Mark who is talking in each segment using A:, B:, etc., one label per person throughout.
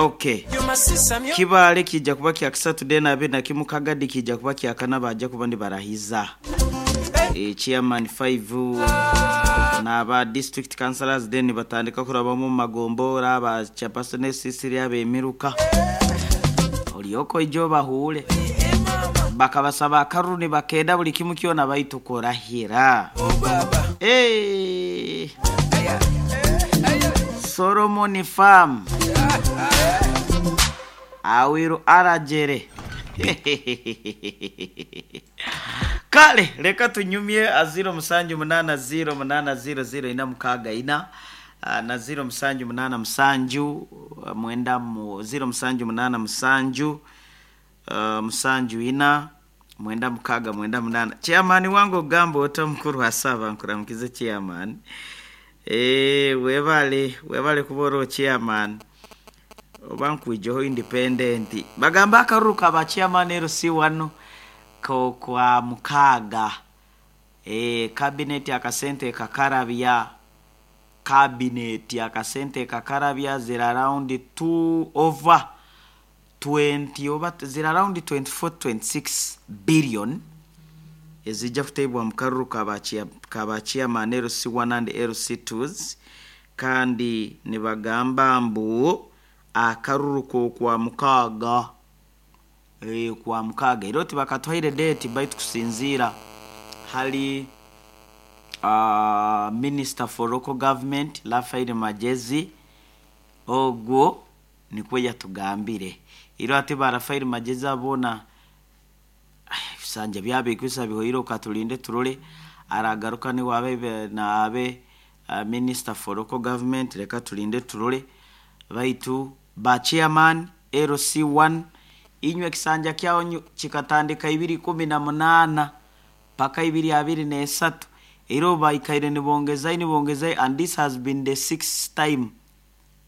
A: Okay. Kibaale kijja kuba kya kisatu then abe nakimu Kagadi kijja kuba kya kana bajja kuba nibarahiza. Chairman 5 n'aba district councillors then batandika kurabamu mu magombora aba chairperson Cecilia abemiruka. Olyoko ijo bahure. Bakabasaba akaruru nibakenda buli kimu kyona baitu kurahira. Hey. Solomon Farm. Awiru arajere. Kale reka tunyumye a 078 0 8 0 6 na 0 7 8 7 mwenda mu 0 7 8 7 7 4 9 6 9. Chairman wangu ogamba ota mukuru asaba nkuramukize chairman. Webale webale kuba chairman. Oba nkwijeho independent. Bagamba akaruru ka chairman LC1 ko kwa mukaga. Cabinet akasente kakarabya. Cabinet akasente kakarabya zira around 2 over 20 over zira around 24 26 billion ezijja kuteebwa mu karuru kaba chairman LC1 and LC2s kandi nibagamba mbu akaruru ko kwa mukaga kwa mukaga era tibakatwaire date baitu kusinziira hali Minister for Local Government Raphael Magyezi ogwo nikwo yatugambire iro ati ba Raphael Magyezi abona ebisanja byabikwisa bihoire okatulinde turole aragaruka niwe abe naabe Minister for Local Government reka tulinde turole baitu ba chairman LC1 inywe kisanja kyaonyu kikatandika 2018 paka 2023 ero baikaire nibongezai and this has been the sixth time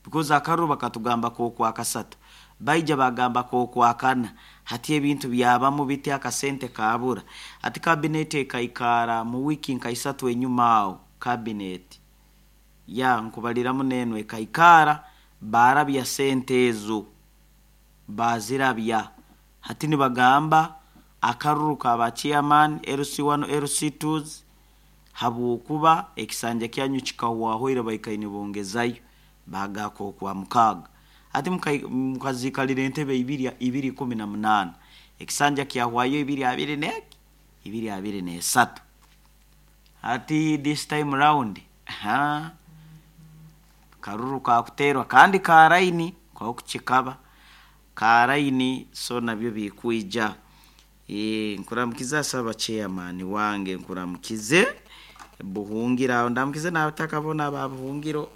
A: because akaruru bakatugamba ko kwa kasatu baija bagamba ko kwa kana hati ebintu byabamu biti akasente kabura ati cabinet ekaikara mu wiki nkaisatu enyuma awo cabinet ya nkubaliramu nenwe ekaikara barabya sente ezo bazirabya hati nibagamba akaruru ka chairman LC1 LC2s habwokuba ekisanja kyanyu kikahwahoire baikaine bongezayo bagako kwa mukaga ati mukazikalira entebe 218 ekisanja kyahwayo 2 23 ati this time round ha karuru kakuterwa kandi karaini kwa kuchikaba karaini so nabyo bikuija. Nkuramukiza saba chairman wange nkuramukize buhungira ndamukize nabatakabona babuhungiro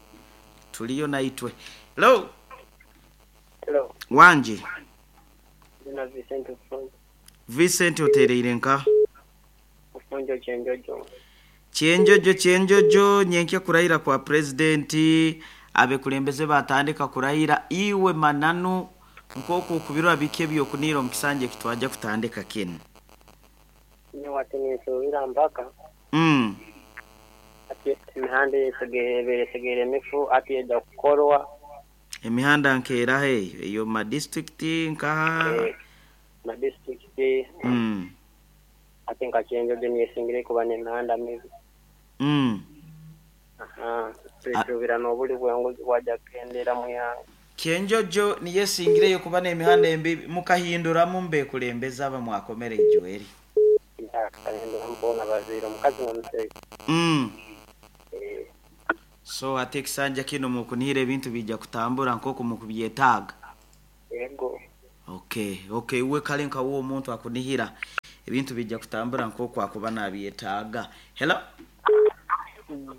A: tuliyo naitwe. Hello.
B: Hello.
A: Wanje.
B: Ndina Vincent Ufunjo.
A: Vincent otereire nka?
B: Ufunjo Chenjojo.
A: Chenjojo Chenjojo nyenkya kurahira kwa president abekulembeze batandika kurahira iwe mananu nkoko kubirwa bike byokunira omukisanje kitwaja kutandika kinu.
B: Ni watinisubira mpaka. Ati emihanda esegere mifu ati ejja kukorwa.
A: Emihanda nkeera he eyo ma district nka
B: ma district. Ati nka Chenjojo niyesingire kuba n'emihanda mibi. Tusuubira n'obuli bwenguzi bwajja kukendera mu yange.
A: Chenjojo niyesingireyo kuba n'emihanda embi mukahinduramu mbekulembeza aba mwakomere Joel.
B: Mbona bazira omukazi n'omusajja.
A: So ate ekisanja kino mukunihira ebintu bijja kutambura nk'oku mukubyetaaga.
B: Yego.
A: Okay, we kale nka wo omuntu akunihira ebintu bijja kutambura nk'oku akuba nabyetaaga. Hello.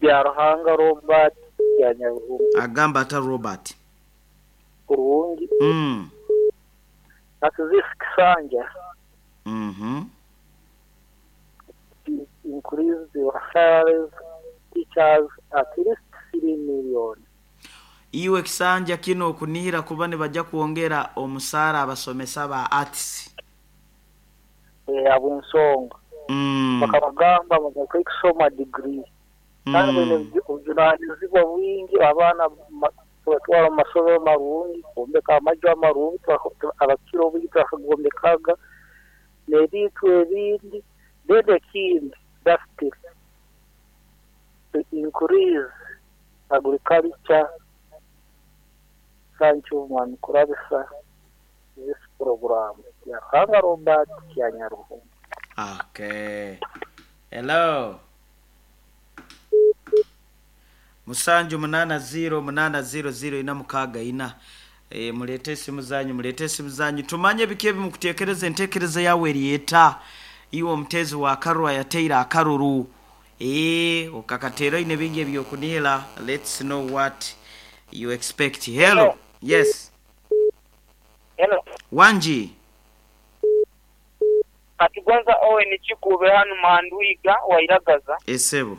C: Bya Ruhanga Robert ya Nyaruhunga.
A: Agamba ata Robert.
C: Kurungi. Atuzisi kisanja. Increase the salaries teachers at least 3 million.
A: Iwe kisanja kino okunihira kuba nibajja kwongera omusaara abasomesa ba arts.
C: Ab'ensonga. Bakabagamba bagakora kusoma degree. Kandi bine obujunanizibwa bwingi abaana Tubatwara mu masomero marungi, kwombeka amaju amarungi, abakira obwingi twakagombekaga n'ebintu ebindi. Then ekindi, lastly, to increase agriculture. Thank you, Mwami Kurabisa, this program. Byaruhanga Robert Kyanyaruhunga.
A: Okay. Hello. 780800464. Mulete esimu zanyu, mulete esimu zanyu, tumanye biki ebimukutekereza, entekereza yawe eriyeta iwe omutezi wa karuru ayateire akaruru, okakateera oine bingi ebyokunihira. Let's know what you expect. Hello.
B: Hello.
A: Yes.
B: Hello.
A: Wanji.
B: Atugonza Owen Kikube hanu Mandwiga wairagaza.
A: Esebo.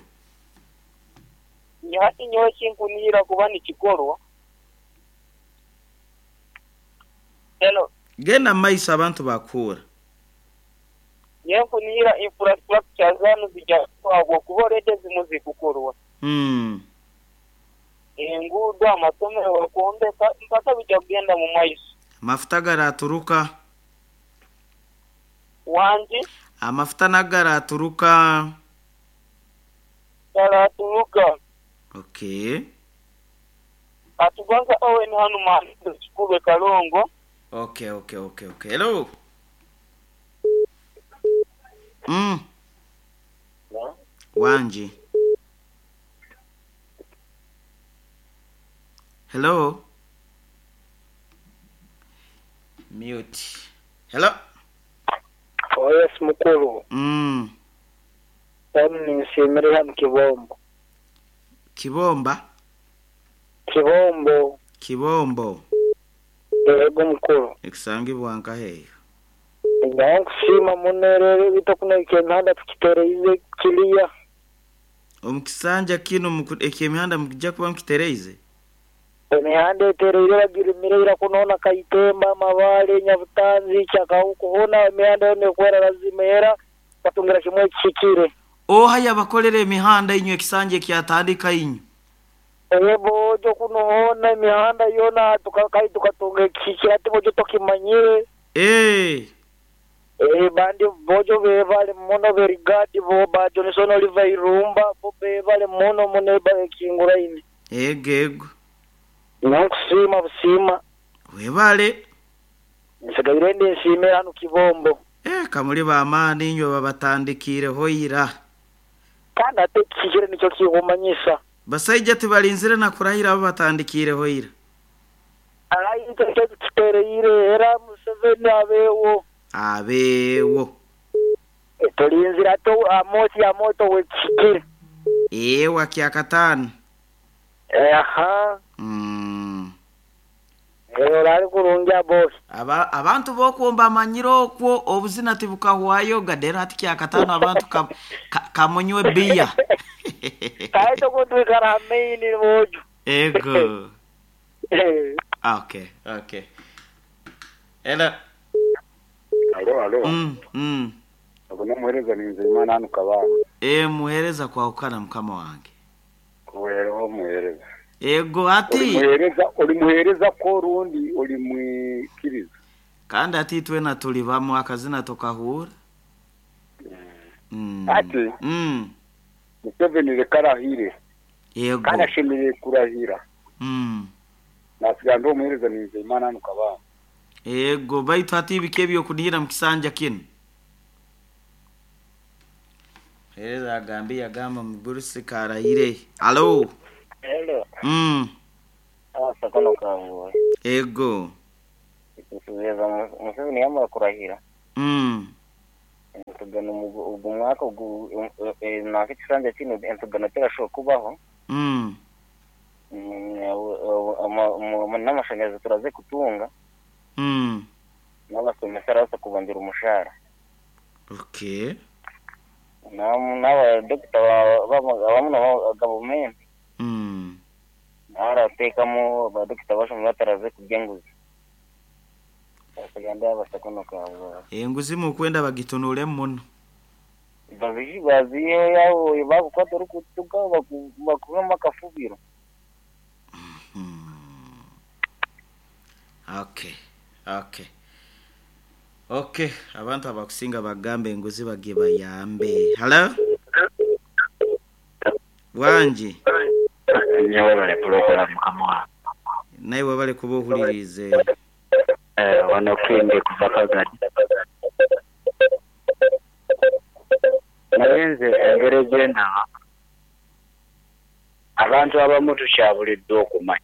B: Hati nyowe kinkunihira kuba nikikorwa. Hello.
A: Genda maiso abantu bakuura.
B: Nyowe nkunihira infrastructure zanu zijja kukorwa kuba already zimu zikukorwa. Enguudo, amasomero bakwombeka mpaka bijja kugenda mu maiso.
A: Amafuta garaturuka.
B: Wangi?
A: Amafuta nagaraturuka.
B: Garaturuka.
A: Okay.
B: Atugonza Owen hanu Mandwiga Kikube Kalongo.
A: Okay, okay, okay, okay. Hello. Wanji. Hello. Mute. Hello.
C: Oh yes, mukuru. Hano ninsimire hano Kibombo.
A: Kibomba?
C: Kibombo.
A: Kibombo.
C: Yego mukuru.
A: Ekusangibwa nkaheyo.
C: Nkusiima muno rero bitokuneka emihanda tukitereize kiriya.
A: Omukisanja kino ekyemihanda mukijja kuba mukitereize?
C: Emihanda etereire bagirimire ira kunoona Kaitemba, Amabale, Nyabutanzi, Kyakahuku, hoona emihanda yoona ekwera lazima era batungira kimwe ekihikire.
A: Oha yabakolera emihanda inywe ekisanja ekyatandika inywe?
C: Bojo kuno hoona emihanda yoona tukatunga ekihikire ati bojo tokimanyire. Bandi bojo bebale muno berigadi bo ba Johnson Oliver Irumba bo bebale muno muno ekinguraine.
A: Ego ego.
C: Nkusiima busiima.
A: Webale.
C: Nsigaire ndi nsiime hano Kibombo.
A: Kamuli b'amaani inywe babatandikiireho ira.
C: Kandi ate ekihikire nikyo kikumanyisa.
A: Basaija tibalinzire na kurahira abo batandikiireho ira.
C: Ayi nicyo kitereire era Museveni abeewo.
A: Abeewo.
C: Tulinzire ate amosi amoto wekihikire.
A: Ewa kyakataano.
C: Aha. Orari kurungi abosi.
A: Abantu bokwomba amanyire okwo obuzina tibukahwayo gadera hati kyakataano abantu kamunywe biya.
C: Kaito kutwikara main bojo.
A: Ego. Okay, okay. Hello.
D: Alo, alo. Abo namuhereza ni Nzeyimana hano Kabanga.
A: Muhereza kwahukana mukama wange.
D: Kuwereho muhereza.
A: Ego ati
D: uri muhereza ko rundi uri mwikiriza.
A: Kandi ati twena tuli bamu akazina tokahura.
D: Ati Museveni reka arahire.
A: Yego.
D: Kandi ashemereye kurahira. Nasiga ndi omuhereza ni Nzeyimana hano Kabanga.
A: Ego baitu ati ibiki ebyokunihira mu kisanja kinu. Hereza agambi yagamba mugurusi karahire. Alo.
B: Hello. Sakono kangu.
A: Ego.
B: Kusubeza Museveni yamara kurahira. Entugano ugu mwaka ugu na kisanja kino entugano terashoboka kubaho. N'amashanyarazi turaze kutunga. N'abasomesa arasa kubandira umushahara.
A: Okay.
B: N'aba doctor bamwe government. Naratekamo abadokita bashomye bataraze kurya enguzi. Basaganda abasakono kawe.
A: Enguzi mukwenda bagitunule muno.
B: Baziye yawo bakukwata rukutuka bakuhama akafubiro.
A: Okay, okay, okay. Abantu abakusinga bagambe enguzi bagibayambe. Hello, wangi.
E: Nyowe bale kulokola mukama wange.
A: Naye wabale kuba ohuliriize.
E: Wano Kindi kuva Kagadi. Naye nze engeri gyendaba abantu abamu tukyabuliddwa okumanya.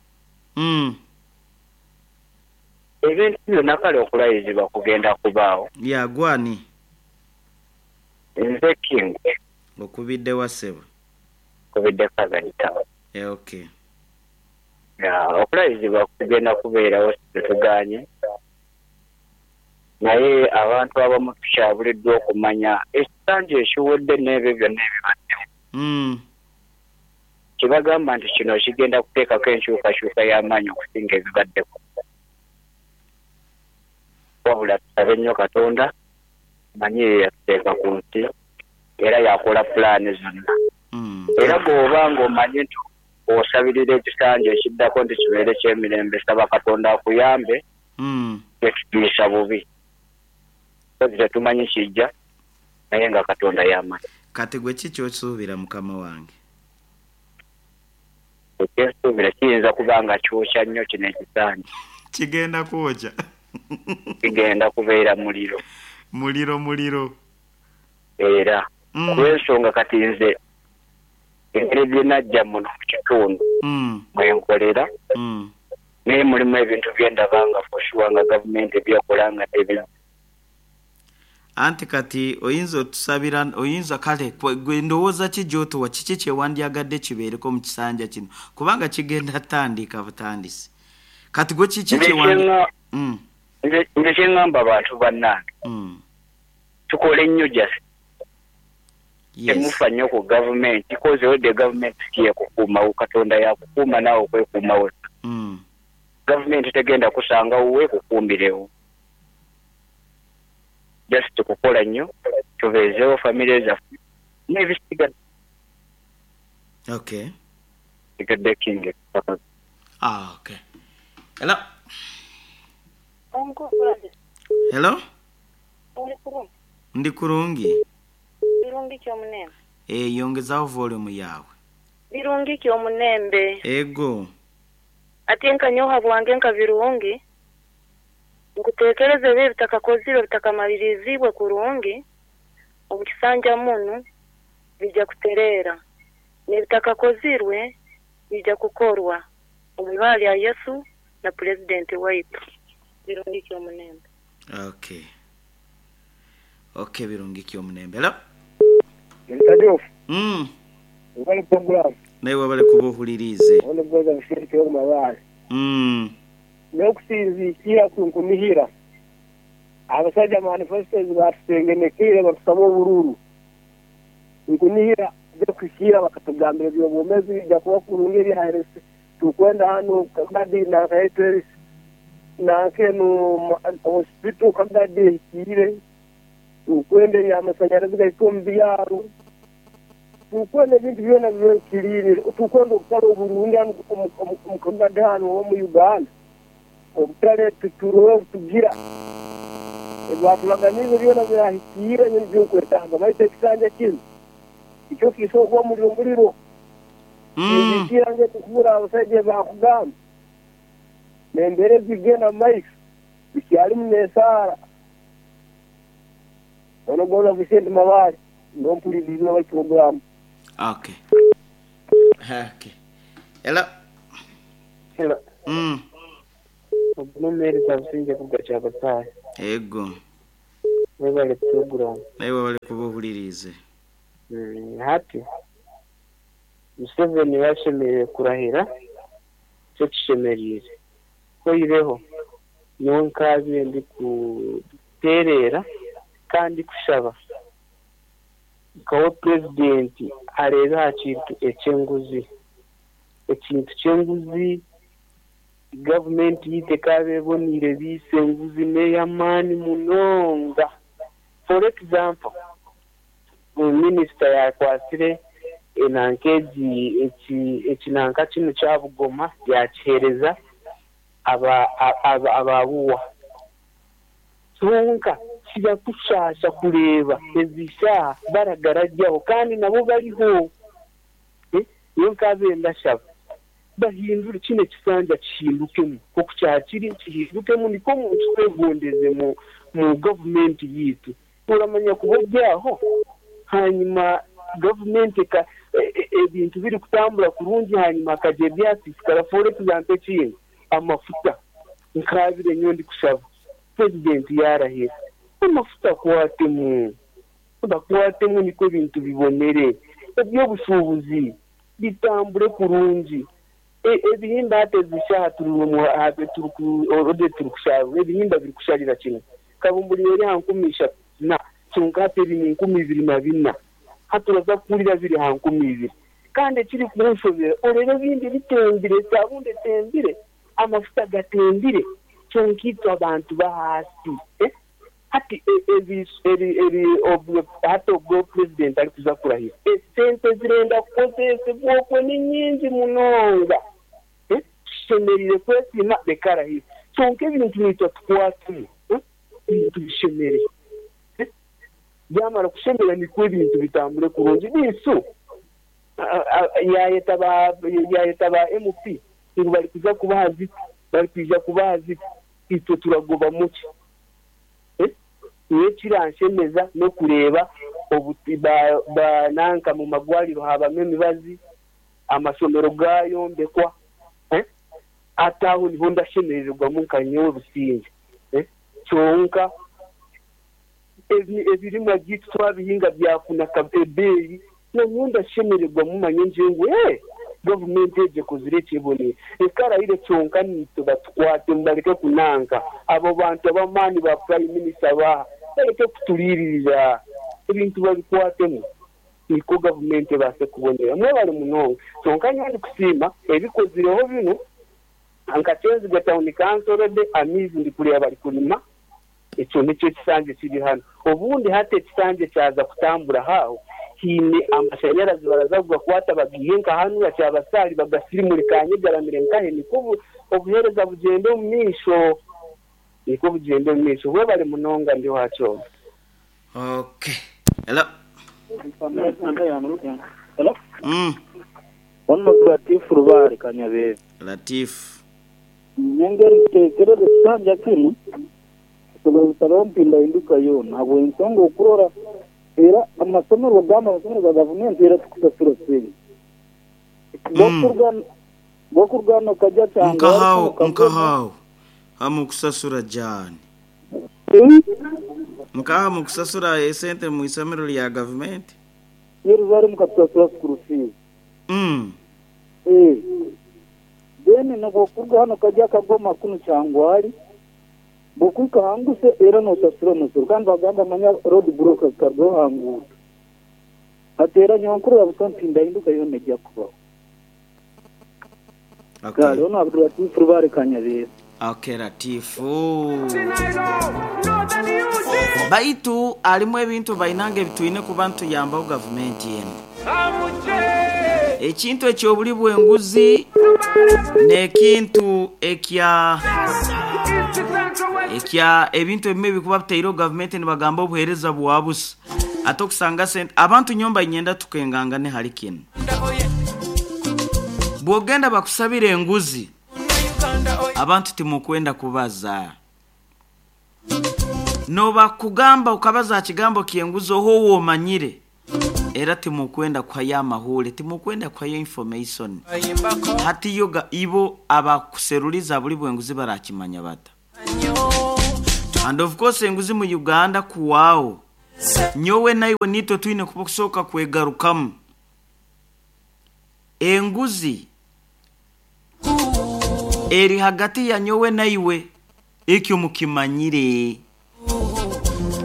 E: Ebintu byonna kale okulayizibwa kugenda kubaawo.
A: Yagwani?
E: Nze King.
A: Okubidde wa ssebo?
E: Kubidde Kagadi town.
A: Okay.
E: Okulayizibwa kugenda kubeerawo, tetuganye, naye abantu abamu tukyabuliddwa okumanya ekisanja ekiwedde n'ebyo byonna ebibaddewo. Kibagamba nti kino kigenda kuteekako enkyukakyuka y'amaanyi okusinga ebibaddeko. Wabula tusabe nnyo Katonda, manyi ye yatuteeka ku nsi era yakola pulaani zonna. Era bw'oba ng'omanyi nti osabirira ekisanja ekiddako nti kibeere ky'emirembe, saba Katonda akuyambe. Tetutuusa bubi kozi tetumanyi kijja, naye nga Katonda y'amanyi.
A: Kati gwe ki ky'osuubira, mukama wange?
E: Ekyensuubira kiyinza kuba nga kyokya nnyo kino ekisanja.
A: Kigenda kwokya.
E: Kigenda kubeera muliro.
A: Muliro, muliro.
E: Era kulw'ensonga kati nze engeri gye najja muno mu kitundu mwe nkolera, naye mulimu ebintu bye ndaba nga for sure nga gavumenti byekola nga tebi.
A: Anti kati oyinza otusabira, oyinza kale gwe ndowooza ki gy'otuwa, kiki kyewandyagadde kibeereko mu kisanja kino, kubanga kigenda tandika butandisi? Kati gwe kiki kyewandi
E: Nze kyeŋŋamba abantu bannange, tukole nnyo, just temufa nnyo ku gavumenti, kozi olwedde gavumenti si yekukuumawo. Katonda yakukuuma, naawe okwekuuma wekka. Gavumenti tegenda kusanga wuwe kukuumirewo. Just kukola nnyo tubeezeewo famire zaffe n'ebisigadde. Sigadde King.
A: Ah, okay. Hello. Hello. Ndi kurungi.
F: Birungi kyomunembe.
A: E, yongezaho volume yawe.
F: Birungi kyomunembe.
A: Ego.
F: Ate nkanyoha bwange nka birungi nkutekereza ebyo ebitakakozirwe, bitakamaliriziibwe kurungi omu kisanja munu bijja kutereera, n'ebitakakozirwe bijja kukorwa omu ibara lya Yesu na pulezidenti waitu. Birungi kyomunembe.
A: Okay, birungi kyomunembe. Hello.
C: Mtajofu. Wali program.
A: Naye wabale kuba ohuliriize.
C: Ono goza mshiriki wo mabale. N'okusinziikira ku nkunihira, abasajja manifestos batusengenekeire batusaba obururu, nkunihira kuhikira bakatugambira ebyobwomezi bijja kuba kurungi ebyaherese tukwenda hano Kagadi nakaeteris nankeno hospital Kagadi ehikire, tukwenda ebyamasanyarazi gahika omu byaro, tukwenda ebintu byona bibekiriire, tukwenda obutare oburungi hano omu Kagadi hano omu Uganda, obutare tuturoho tugira ebyaturaganize byona birahikiire ebyokwetaaga. Baitu ekisanja kinu ekyo kisobola kuba muliro muliro. Nzikira nge kukubura abasajja bakugamba n'embeera ezigenda mu maiso bikyalimu n'esaara. Ono goza Vicente Mabale nompuliriza bali program.
A: Okay. Hello.
B: Hello. Obunomeereza businge kuga kyabasaaya.
A: Ego.
B: Webale program.
A: Naye wabale kuba ohuliriize.
B: Hati Museveni yashemereire kurahira, kyo kishemereire koireho nyowe nkaabire ndi kuteerera kandi kushaba nkawe purezidenti areebe aha kintu eky'enguzi, ekintu ky'enguzi. Gavumenti yitu ekaaba eboniire biisa enguzi n'ey'amaani munonga. For example, minisita yakwasire enanka egi, eki ekinanka kinu kya Bugoma yakiheereza.
C: Ababuwa kyonka kibakushasha kureeba ezi shaaha baragarajyaho kandi nabo bariho. Nyowe nkabe ndashaba bahindure kino ekisanja kihindukemu nk'oku kyakiri kihindukemu nikwo omuntu twegondeze mu gavumenti yiitu. Oramanya kuba oryaho hanyuma gavumenti ebintu biri kutambura kurungi hanyuma hakaja ebyasiisikara. For example ekindi amafuta nkaabire nyowe ndikushaba purezidenti yaarahira amafuta akwatemu bakwatemu nikwo ebintu bibonere eby'obushuubuzi bitambure kurungi. Ebihimba hati ezi shaaha turi kusharura ebihimba birikusharira kimwe. Kabumburi eri aha 3000 kyonka hati eri mu 2004. Hati oraza kuhurira biri aha 2000. Kandi ekirikunshobera oreeba ebindi bitembire, esaabuuni etembire, amafuta gatembire kyonka itwe abantu b'ahaasi. Hati hati obwo purezidenti arikuza kurahira esente ezirenda kukozesebwa okwe ni nyingi munonga. Tushemereire kwesiima reka arahire kyonka ebintu naitwe tukwatemu ebintu bishemere. Byamara kushemera nikwo ebintu bitambure kurungi. Biisu yaayeta ba MP ngu barikuza kubaha ziti, barikwija kubaha ziti, itwe turagobamu ki? Nyowe ekiranshemeza n'okureeba nanka mu magwariro haabamu emibazi, amashomero gaayombekwa, hati aho niho ndashemerererwamu nka nyowe Busingye. Kyonka ebirimwa byaitu twabihinga byafuna ebeeyi, nanyowe ndashemererwamu manye ngye ngu gavumenti egi ekozire eki ebonire. Reka arahire kyonka naitwe batukwatemu bareke kunanka. Abo bantu ab'amaani ba Prime Minister baaha bareke kuturiiririra. Ebintu babikwatemu nikwo gavumenti ebaase kubonera. Mwebare munonga. Kyonka nyowe ndikusiima ebikozireho binu nka Kyenzigwe Town Council already amaizi ndikureeba barikurima. Ekyo nikyo ekisanja ekiri hanu. Obundi hati ekisanja ekyaza kutambura aho haine amashanyarazi baraza kugakwata bagaihe nka hanu Kyabasaari bagasirimure Kanyegaramire nkahe nikwo obuheereza bugyende omu maisho. Nikwo bugyende omu maisho. Webare munonga ndi owa Kyoma.
A: Okay. Hello.
G: Hello. Ono Latif Rubare Kanyabebe.
A: Latif.
G: Nyengeri tekereza ekisanja kinu tugasaba mpindahinduka yoona habw'ensonga okurora era amasomero gamba amasomero ga gavumenti era tukusasura sente. Gokurwana kajja cyangwa
A: nkahawo hamukusasura jani nkaha mukusasura esente mu isomero lya gavumenti
G: Yerusalemu katusasura school fees. Then nogokurwa hano kajja kagoma kuno cyangwari bokuka hanguse era nosasura umusoro kandi bagamba manya road block kargo hangu atera nyonkuru yabusa mpindahinduka yone ejya kubaho.
A: Okay.
G: Galo no Abdul Latif Rubare Kanyabebe.
A: Okay, Latifu. Baitu alimu ebintu bainange bitwine ku bantu yambaho gavumenti eno. Ekintu eky'obuli bw'enguzi n'ekintu ekya ebintu ebimwe bikuba bitaireho gavumenti nibagamba obuheereza bwa busa. Ate okusanga sente abantu nyomba nyenda tukengangane hali kinu. Bw'ogenda bakusabira enguzi abantu timukwenda kubaza. Noba kugamba ukabaza kigambo kienguzo ho womanyire era timukwenda kuhaya amahule, timukwenda kuhaya information. Hati yoga ibo abakuseruliza buli bwenguzi barakimanya bata. And of course enguzi mu Uganda kuwao nyowe naiwe nitwe twine kusoka kwegarukamu. Enguzi eri hagati ya nyowe naiwe ekyo mukimanyire.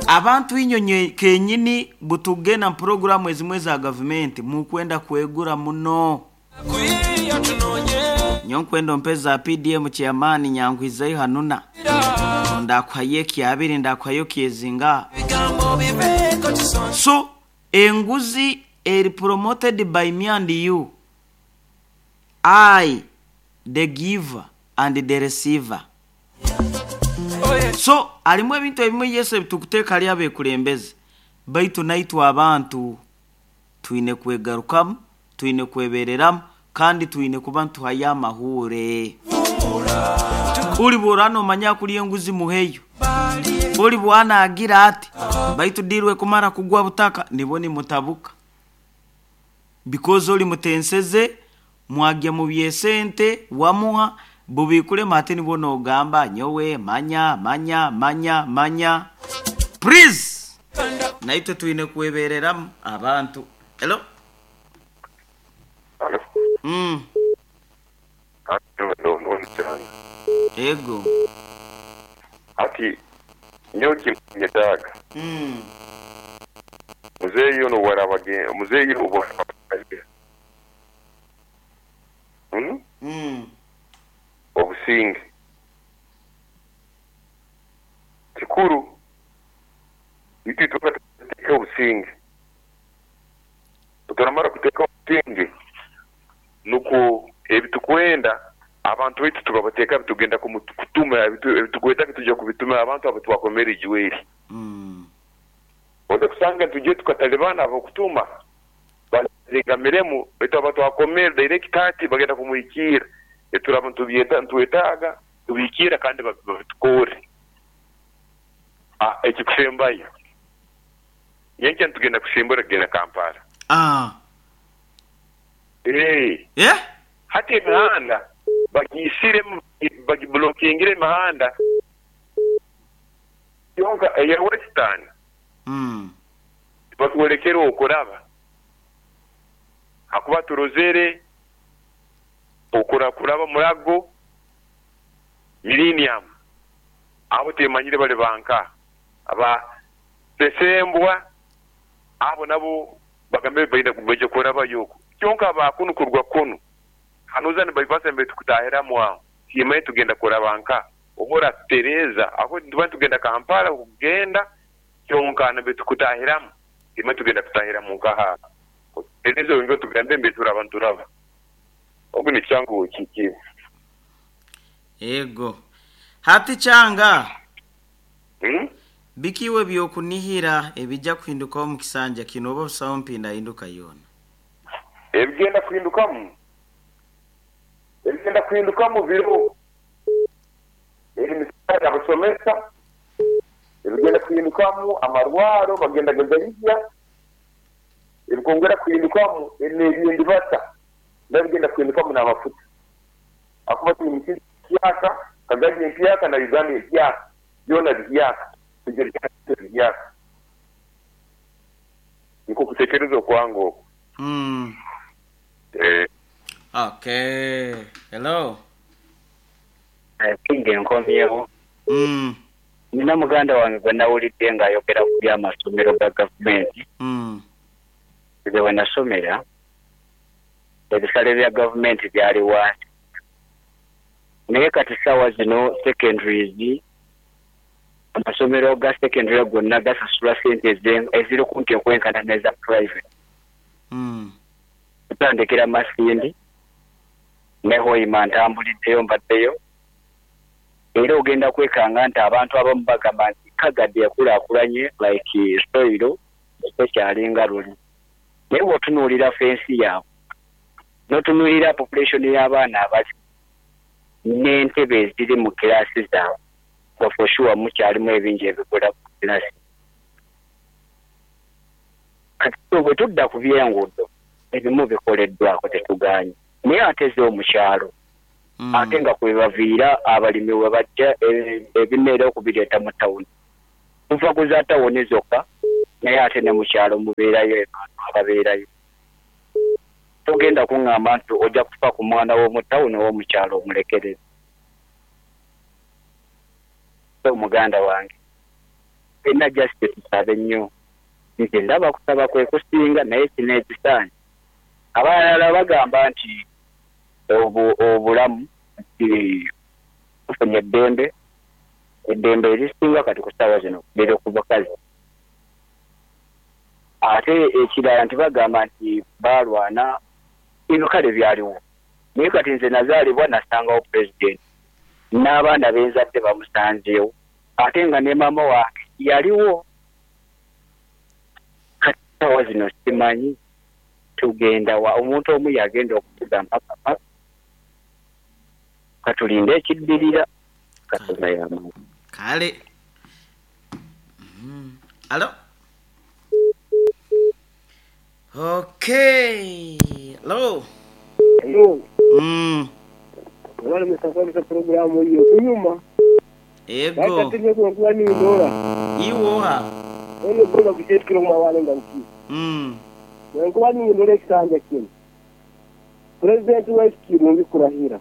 A: Abantu inyonye kenyini butugena programu ezimwe za gavumenti mukwenda kwegura muno. Nyonkwendo mpeza PDM chairman nyangwizayo hanuna ndakwaye kyabiri ndakwayo kyezinga. So enguzi eri promoted by me and you. I the giver and the receiver. So harimu ebintu ebimwe Yesu ebitukuteeka hari abeekurembeze, baitu naitwe abantu twine kwegarukamu, twine kwebereramu kandi twine kuba nituhayo amahuure. Ori bw'oraba noomanya kurya enguzi muheyo. Ori bw'aba naagira ati baitu diirwe kumara kugwa butaka nibwo nimutabuka. Because ori mutenseze mwagya mu by'esente wamuha bubiikurema hati nibwo noogamba nyowe manya manya manya manya. Please! Naitwe twine kwebereramu abantu. Hello?
H: Halo.
A: Ego.
H: Hati nyowe kinkunyetaaga. Muzeeyi ono obwaraaba muzeeyi obwaraaba Obusinge. Kikuru itwe itwena tuteeke obusinge. Obu turamara kuteeka obusinge, nukwo ebi tukwenda abantu baitu tukabateeka tugenda kutuma ebi tukwetaaga twija kubituma abantu abu twakomere ijweri. Oija kusanga nitwija tukatalibana ab'okutuma bazegamiremu baitu aba twakomere direct hati bagenda kumuhikiira ebi turaba nitwetaaga tubihikiira kandi babitukorre. Ekikusembayo, nyenkya nitugenda kusimbura kugenda Kampala. Hati emihanda bagiisiremu, bagibulokingire emihanda kyonka eya Western tibatwolekere okuraba hakuba turozere kuraba Murago, Millennium abo timanyire bali banka aba Sesembwa abo nabo bagambire baine baija kurabayo oku kyonka aba kunu kuruga kunu hanuza ni bypass mbere tukutahiramu aho timanyire tugenda kuraba nka oba oratutereeza aho nituba nitugenda Kampala kugenda kyonka nambere tukutahiramu timanyire tugenda kutahiramu nkaha otutereeze oyongere otugambe mbere turaba nituraba ogu ni kyangu kiki.
A: Ego. Hati kyanga. Biki iwe ebyokunihira ebija kuhindukaho omu kisanja kinu oba busaho mpindahinduka yoona?
H: Ebigenda kuhindukamu ebigenda kuhindukamu biriho emisaara y'abasomesa, ebigenda kuhindukamu amarwaro bagenda gagabihya, ebikwongera kuhindukamu n'ebyendibata nabyo bigenda kuhindukamu n'amafuta ahakuba twine ensi empyaka, Kagadi empyaka na Uganda empyaka byona bihyaka twija bihyaka. Nikwo kutekereza okwange okwo.
A: Okay. Hello.
E: Kingi nkomyewo. Nina muganda wange gwe nawulidde ng'ayogera ku by'amasomero ga gavumenti. Nze we nasomera, ebisale bya gavumenti byali wansi. Naye kati ssaawa zino secondaries, amasomero ga secondary gonna gasasula sente eziri kumpi okwenkana n'eza private. Kutandikira Masindi ne Hoima ntambuliddeyo mbaddeyo. Era ogenda kwekanga nti abantu abamu bagamba nti Kagadi ekulaakulanye like soil tekyalinga luli. Naye bw'otunuulira fensi yaabwe, n'otunuulira population y'abaana abali n'entebe eziri mu kiraasi zaabwe, nga for sure mukyalimu ebingi ebibula ku kiraasi. Kati so bwe tudda ku by'enguudo, ebimu bikoleddwako tetugaanye, naye ate zo mu kyalo ate nga kwe baviira abalimi we bajja ebimera okubireeta mu tawuni. Tuva ku za tawuni zokka, naye ate ne mu kyalo mubeerayo abantu ababeerayo. Togenda kuŋŋamba nti ojja kufa ku mwana w'omu tawuni ow'omu kyalo omulekerere. So muganda wange, ffenna just tusabe nnyo. Nze ndaba kusaba kwe kusinga naye kino ekisaanye. Abalala bagamba nti obulamu nti tufunye eddembe, eddembe erisinga kati ku ssaawa zino liri ku bakazi. Ate ekirala nti bagamba nti baalwana, ebyo kale byaliwo. Naye kati nze nazaalibwa nasangawo pulezidenti. N'abaana benzadde bamusanzeewo ate nga ne maama wange yaliwo. Kati essaawa zino simanyi tugenda wa, omuntu omu y'agenda okutugamba papa katulinde ekiddirira Katonda y'amanyi.
A: Kale. Alo. Okay. Hello.
C: Hello. Mwebale musakwamisa pulogulaamu eyo kunyuma.
A: Ego.
C: Baita tinye kuba nindora.
A: Iwe oha?
C: Eno gola kuchetikira kumawale nga nki. Nkuba nindora ekisanja kino. President waitu kirungi kurahira.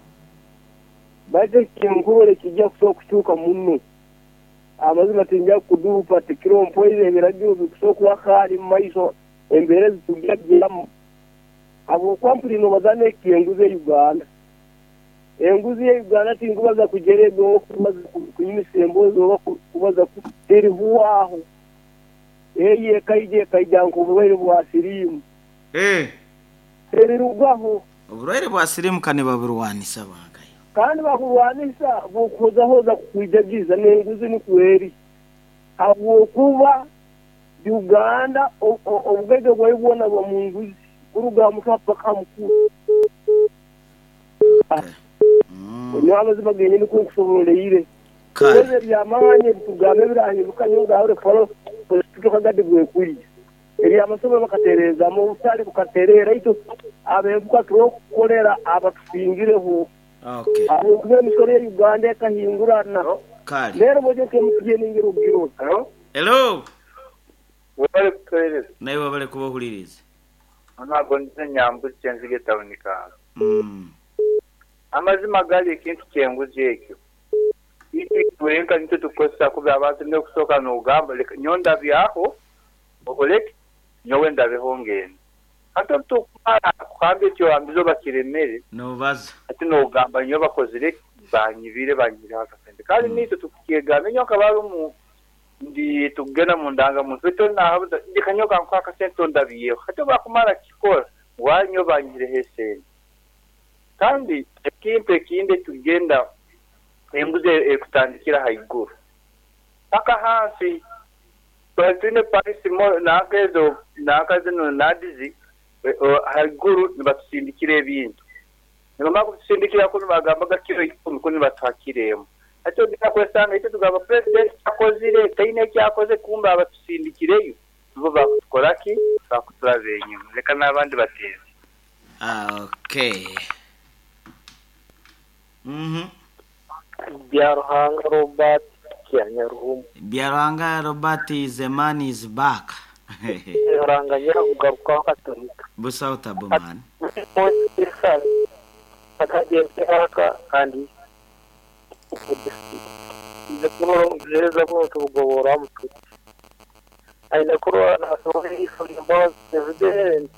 C: Baita kinkubole kijja kusobola kukyuka muno. Amazima tinja kuduupa tikiro mpoire ebiragiro bikusobola okuba kaali mu maiso embeera ezitujja gyamu. Habwokuba mpulire nobaza n'ekenguzi e Uganda. Enguzi ye Uganda tinkubaza kujerega oba kubaza kunyumisa emboozi oba kubaza terihwaho. Eyo ekaija ekaija nk'oburwaire bwa siriimu. Terirugaho.
A: Oburwaire bwa siriimu ka nibaburwanisa bankayo.
C: Kandi baburwanisa bukuhozahoza kukwijagiza n'enguzi nikwo eri. Habwokuba Uganda obugaiga bwayo bwona buba mu nguzi kuruga aha mutwe paka aha mukuru. Nyowe amazima genyini ku nkusoboreire. Kwezi eby'amaani ebitugamba ebirahinduka nyowe ngahure kufalo kagadi bwekwija. Eby'amasomero bakatereezamu obutale bukatereera itwe abeebuka turokukolera abatusingireho. Habwokuba emisoro ya Uganda ekahingurana. Leero bw'oija nka MTN ngira ogirora.
A: Hello.
I: Webale kutuhereza.
A: Naiwe webale kuba ohuliriize.
I: Ntabwo nze Nyambuzi Kyenzige tawuni Kaaro. Amazima gali ekintu ky'enguzi ekyo itwe itwenka nitwe tukukozesa kubi abantu n'okusooka n'ogamba leka nyowe ndabyaho okoleki nyowe ndabeho ngende. Hati obu tukumara kugamba ekyohambize oba kiremere
A: Nobaza.
I: hati n'ogamba nyowe bakozire ki banyibire banyihireho akasente kandi naitwe tukukyegamba nyowe nkaba harumu ndi tukugenda mu ndangamuntu baitu oli nahabuza leka nyowe kankuhe akasente ondabyeho hati obu akumara kukikora ngu nyowe banyihireho esente. Kandi ekintu ekindi ekikugenda enguzi erikutandikira haiguru paka hansi. Twali twine parisi nanka ezo nanka zinu nadizi haiguru nibatusindikira ebintu. Nibamara kutusindikira kunu bagambaga kiro ikumi kunu nibatuha kiro emu. Hati ogenda kwesanga itwe tugamba president akozire taine eki akoze kumbe abatusindikireyo nibo bakutukora ki? Bakuturaba enyima. Leka n'abandi bateebe.
A: Okay.
J: Byaruhanga Robert Kyanyaruhumu.
A: Byaruhanga Robert the man is back.
J: Ruhanga nyakugarukaho Katolika.
A: Busaho tabu man.
J: Kandi aine kurora nasobola president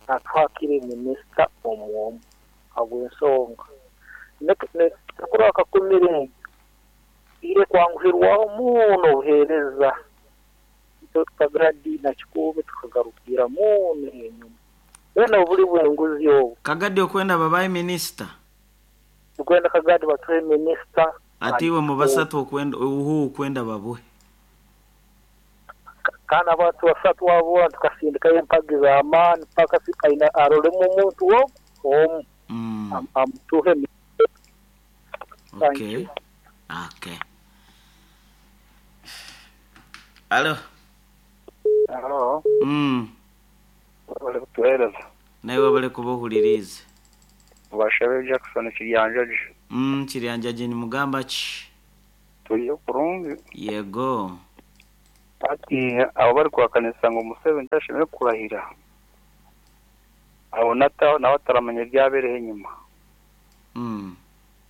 J: atwakire minisita omwomu habw'ensonga nekurora akakumire ire kwanguhirwaho muno obuheereza tukagadi na kikuube tukagarukira muno enyuma wena obuli bw'enguzi obu
A: Kagadi okwenda babaye minisita
J: tukwenda Kagadi batuhe minisita
A: ati iwe mubasatu okwenda uhu okwenda babuhe
J: kana abantu basatu abo tukasindikayo empagi z'amaani paka aina arolemu omuntu omu amutuhe.
A: Okay. Okay. Alo.
K: Alo. Webale kutuhereza.
A: Nawe webale kuba ohuliriize.
K: Bashabe Jackson Kiryanjaji.
A: Kiryanjaji nimugamba ki?
K: Turiyo kurungi.
A: Yego.
K: Ati abo bari kuhakanisa ngu Museveni tashemereire kurahira. Abo nawe ataramanya ebyabereho enyima.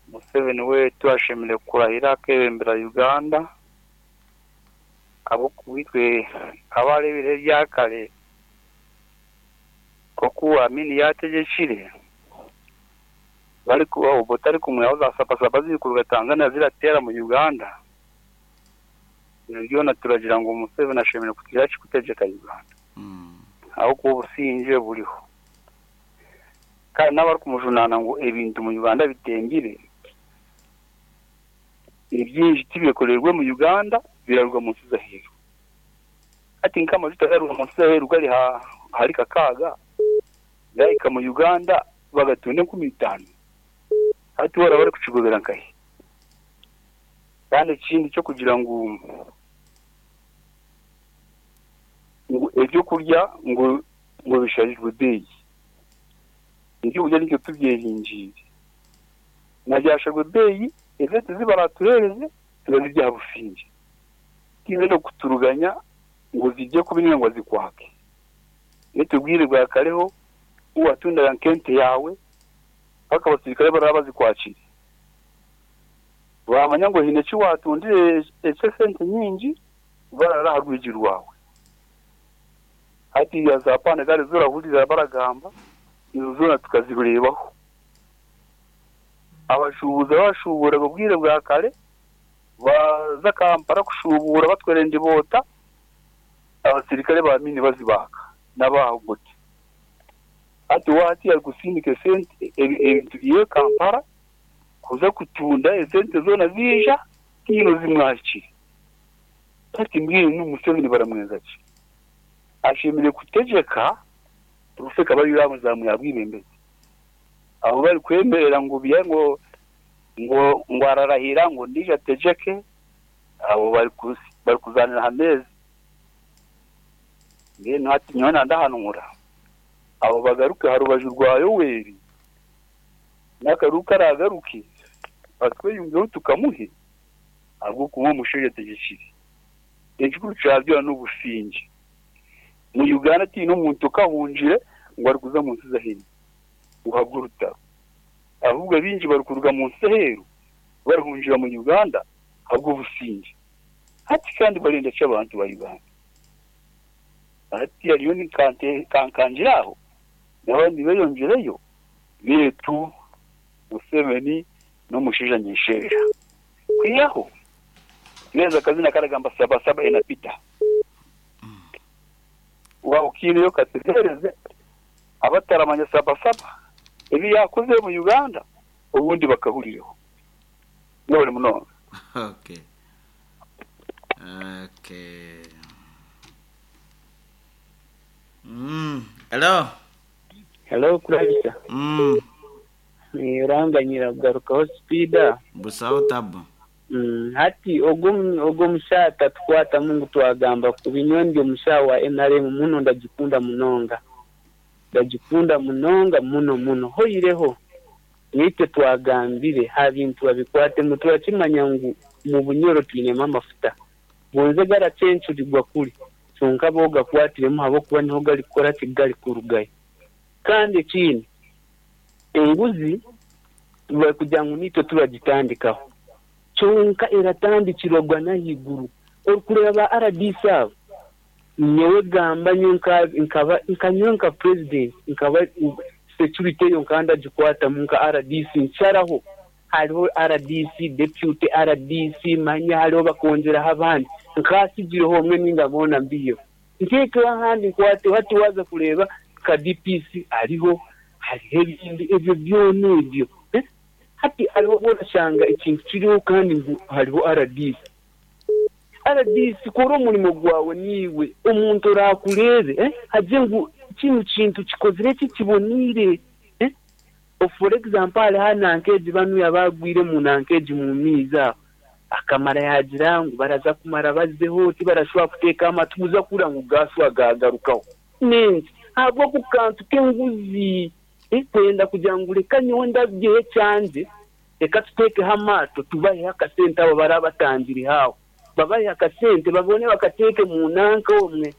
K: Museveni wetu ashemereire kurahira akebembera Uganda. Abo kubitwe abarebire ebyakare koku Amini yategekire bari kuba obutari kumwe za sapasapa ziri kuruga Tanzania ziratera mu Uganda. Byona turagira ngu Museveni ashemereire kugira kikutegeka Uganda. Aho kuba obusinge buriho. Kandi n'abari kumujunana ngu ebintu mu Uganda bitengire. Ebyingi tibyekoreirwe mu Uganda biraruga mu nsi z'aheeru. Hati nk'amajuta garuga mu nsi z'aheeru gari ahari kakaaga gahika mu Uganda bagatunda 5000. Hati we araba arikukigobera nkahi? Kandi ekindi ky'okugira ngu ngu ebyokurya ngu ngu bisharirwe beeyi. Ebyokurya nitwe tubyehingiire. Na byasharwa ebeeyi, esente zi baraatuheereze turazirya aha busingye. Tihaine n'okuturuganya ngu zirye kubi nainga ngu azikwake. Beitu obwire bwa kareho ku waatundaga nk'ente yaawe mpaka abasirikare baraba bazikwakire. Baamanya ngu haine eki waatundire eky'esente nyingi, barara aha rwigi rwawe. Hatiiya za paana ezaari ezi orahurira baragamba, ezo zoona tukazireebaho. Abashuubuzi abashuuburaga obwire bwa kare baaza Kampala kushuubuura batwara endiboota, abasirikare ba miini bazibaaka n'abaaha buti. Hati we hati arikusindika esente ebintu bye Kampala kuza kutunda esente zoona ziija tihaine ozimwakire. Hati mbwenu Museveni baramwenza ki? Ashemereire kutegyeka rufu ekaba ariyo yaamuzamu yaabwebembezi. Abu barikwemerera ngu bye ngu ngu ararahira ngu ondiijo ategyeke, abo barikuzaanira aha meeza. Mbwenu hati nyowe nandahanura abo bagaruke aha rubaju rwa Yoweri, n'akaruuru karaagaruke batweyungeho tukamuhe ahabw'okuba omushaija ategyekire. Ekikuru kya byona n'obusingye. Mu Uganda tihaine omuntu okahungire ngu arikuza omu nsi z'aheeru kuhabwa orutaro. Ahubwo abaingi barikuruga mu nsi z'aheeru barihungira mu Uganda ahabw'obusingye. Hati kandi barenda ki abantu ba Uganda? Hati hariyo kankangira aho n'abandi beyongyereyo beitu Museveni n'omushaija nyesheja. Kwihaho neza akazina karagamba sabasaba enapita. Waaba okiineyo kategereze abataramanya sabasaba ebi yaakozire mu Uganda obundi bakahurireho. Mwebare munonga.
A: Okay. Okay. Hello.
L: Hello Kurabisa. Oranganyira kugarukaho sipiida.
A: Busaho tabu.
L: Hati ogwo ogwo omushaho atatukwatamu ngu twagamba kubi. Nyowe ndi omushaho wa nrm muno ndagikunda munonga. Ndagikunda munonga muno muno. Hoireho naitwe twagambire ha bintu babikwatemu turakimanya ngu mu Bunyoro twinemu amafuta. Gonze garacencurirwa kuri kyonka bo gakwatiremu ahabw'okuba niho garikukora ki garikurugayo. Kandi ekindi enguzi barikugira ngu naitwe turagitandikaho kyonka eratandikirwa n'ahaiguru. Orikureeba ba rdc abo nyowe gamba nyowe nkaba nka nyowe nka president nkaba security eyo nkaba ndagikwatamu nka rdc nsharaho hariho rdc, deputy rdc manya hariho bakongyeraho abandi nkasigireho omwe ninga boona mbiheho ntekeho ahandi nkwateho hati waaza kureeba nka DPC ariho hariho ebindi ebyo byona ebyo hati hariho obu orashanga ekintu kiriho kandi ngu hariho rdc. Rdc kora omurimo gwawe niiwe omuntu oraakureebe agire ngu kinu kintu kikozire ki kiboneire. For example hariho nanka egi banuya abaagwire omu nanka egi mu maizi aho akamara yaagira ngu baraza kumara bazeho tibarashobora kuteeka amatu kuza kuhurira ngu gaashuba gaagarukaho. N'enki? Ahabw'oku kantu k'enguzi kwenda kugira ngu reka nyowe ndabyeho ekyangye reka tuteekeho amaato tubaheho akasente abo abaraba batangiriho aho babahe akasente babone bakateeke mu nanka omwe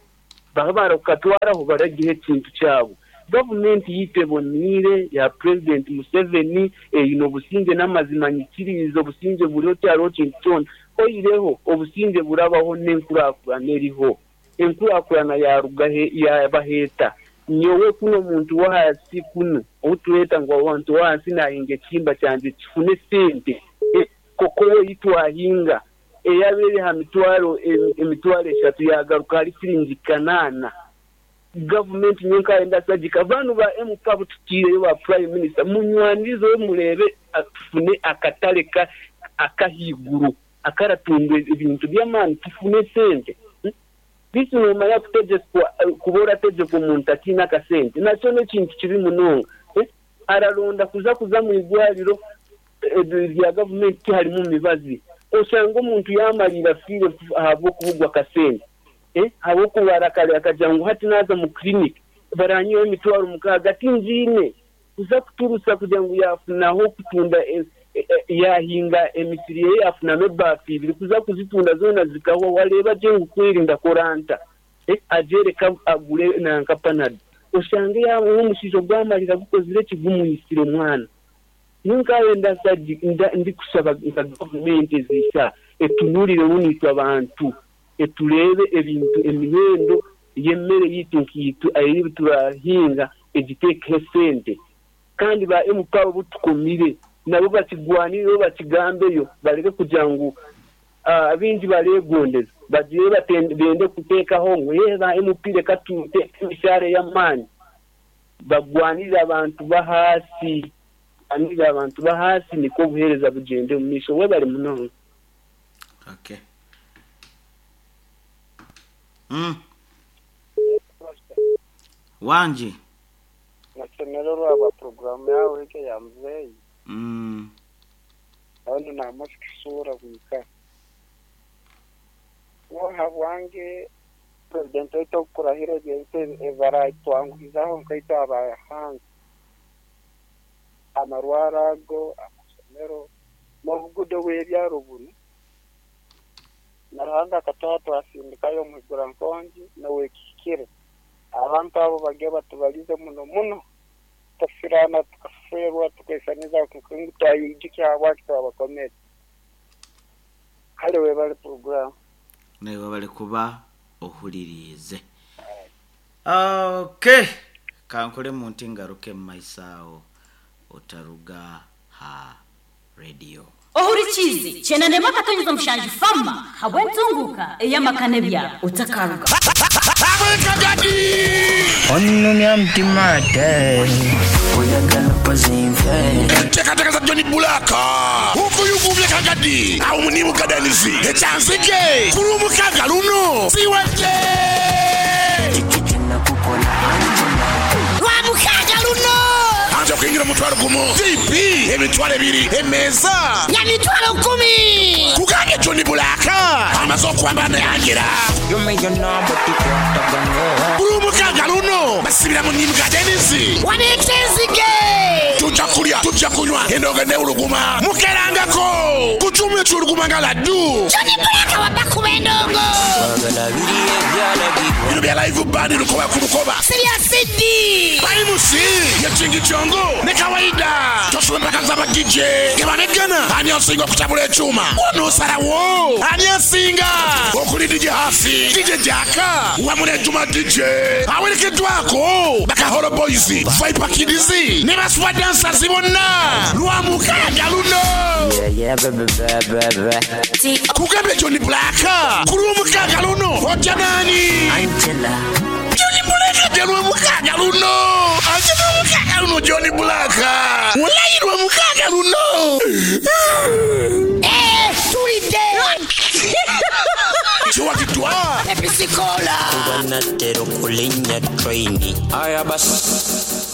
L: babe barakukatwaraho baragiha ekintu kyabo. Gavumenti yaitu eboneire ya Purezidenti Museveni eine obusingye n'amazima nyikiriize obusingye buriho tihariho kintu kyona oihireho obusingye burabaho n'enkurakurana eriho. Enkurakurana yaruga he yabaho eta? Nyowe kunu omuntu w'ahansi kunu ou tureeta ngu omuntu w'ahansi naahinga ekihimba kyangye kifune esente kokowo ei twahinga eyaba eri aha mitwaro emitwaro eshatu yaagaruka ahari siringi kanaana. Gavumenti nyowe nkaaye ndasagika banu ba MP abu tutiireyo ba Prime Minister munywanirizeho mureebe tufune akatare ka ak'ahaiguru akaratundwa ebintu by'amaani tufune sente. Beitu noomanya kutegyekwa kuba orategyekwa omuntu ataine akasente nakyo n'ekintu kibi munonga. Araronda kuza kuza omu irwariro rya gavumenti tiharimu mibazi. Oshange omuntu yaamariira afiire ahabw'okubugwa akasente. Ahabw'okurwara akagira ngu hati naaza omu clinic baranyihaho emitwaro mukaaga tingiine. Kuza kuturusa kugira ngu yaafunaho kutunda yaahinga emisiri ye yaafunamu ebaafu ibiri kuza kuzitunda zoona zikahwaho areeba gye ngu kweri ndakora nta? Agyereka agure nanka panado oshange yaaba omushaija ogu amarira gukozire ki gumwitsire mwana. Nyowe nkaabe ndikushaba nka gavumenti eziisa etunurireho naitwe abantu etureebe ebintu emihendo y'emmere yaitu nkaitwe ei turahinga egiteekeho esente kandi ba MP abo abu tukomire nabo bakigwanireho bakigambeyo bareke kugira ngu abaingi bareegondeza bagire bende kuteekaho ngu eeh ba MP reka tuteeke emishaara ey'amaani. Bagwanirire abantu b'ahaasi, bagwanirire abantu b'ahaasi nikwo obuheereza bugyende omu maisho. Webare munonga.
A: Okay. Mm. Wangi.
M: Nashemererwa ahabwa puroguraamu yaawe egi eya muzeeyi.
A: Mm.
M: Kandi naamazike shuura bwika. Nyowe ahabwange Purezidenti waitu obu kurahira ebintu ebi baraatwanguhizaho nkaitwe ab'ahansi, amarwaro ago, amashomero, n'obuguudo bw'ebyaro bunu. Na Ruhanga akatuha twasindikayo omuhigura-nkongi n'ow'ekihikire. Abantu abo bagye batubalize muno muno, tutafiraana, tukafeerwa, tukeisaniza ngu twayeijukya habwaki twabakomere. Kale webale puroguraamu.
A: Naiwe webale kuba ohuririize. Okay, kankolemu nti ngaruke mu maiso agho otaruga ha radio.
N: Ohurikiize Kyenda n'emwe akatonyeza mushanju Fama habw'entunguuka ey'amaka n'ebyaro. Otakaruga.
O: Onumya mutima ate oyagala pozi nfe.
P: Enteekateeka za John Blaq okuyuguumya Kagadi agho ni mu Gardens e Kyanzige ku Lwomukaaga luno ziwedde.
O: Kiki kye nakukola Angela?
Q: Lwamukaaga luno!
P: Anti okuingira omutwalo gumu, VIP emitwalo ebiri, emeeza.
Q: Ya mitwalo kumi!
P: Kugambye John Blaq amaze okwambala ne Angela.
O: Give me your number tukwatagane.
P: Ku Lwomukaaga luno basibira mu Nim Gardens.
Q: Wano e Kyenzige!
P: Tujja kulya, tujja kunywa, endongo n'ewuluguma. Mukerangako ku kyuma ekiwuluguma nga laddu.
Q: John Blaq wabba kuba endongo.
O: Twagala biri ebyalagirwa.
P: Bino bya live band lukoba ku lukoba.
Q: Si bya CD.
P: Baimusi ye Kingi Kyongo ne Kawaida. Tosula empaka za ba DJ nga baneggana ani asinga okutabula ekyuma. W'onoosalawo ani asinga okuli DJ Haffy, DJ Jaaka wamu ne Juma DJ awerekeddwako Bakaholo Boys, Viper Kids ne ba Super Dancers bonna Lwamukaaga luno.
O: Yeah, yeah, baby, baby, baby.
P: Kugambye John Blaq ku Lwomukaaga luno ojja naani?
O: Angela.
P: John Blaq ajja Lwomukaaga luno. Ajja Lwomukaaga luno John Blaq. Walayi Lwomukaaga luno.
Q: Eh, tulidde.
P: Kiwagiddwa.
Q: Episikola.
O: Kuba natera okulinnya train. Aya basi.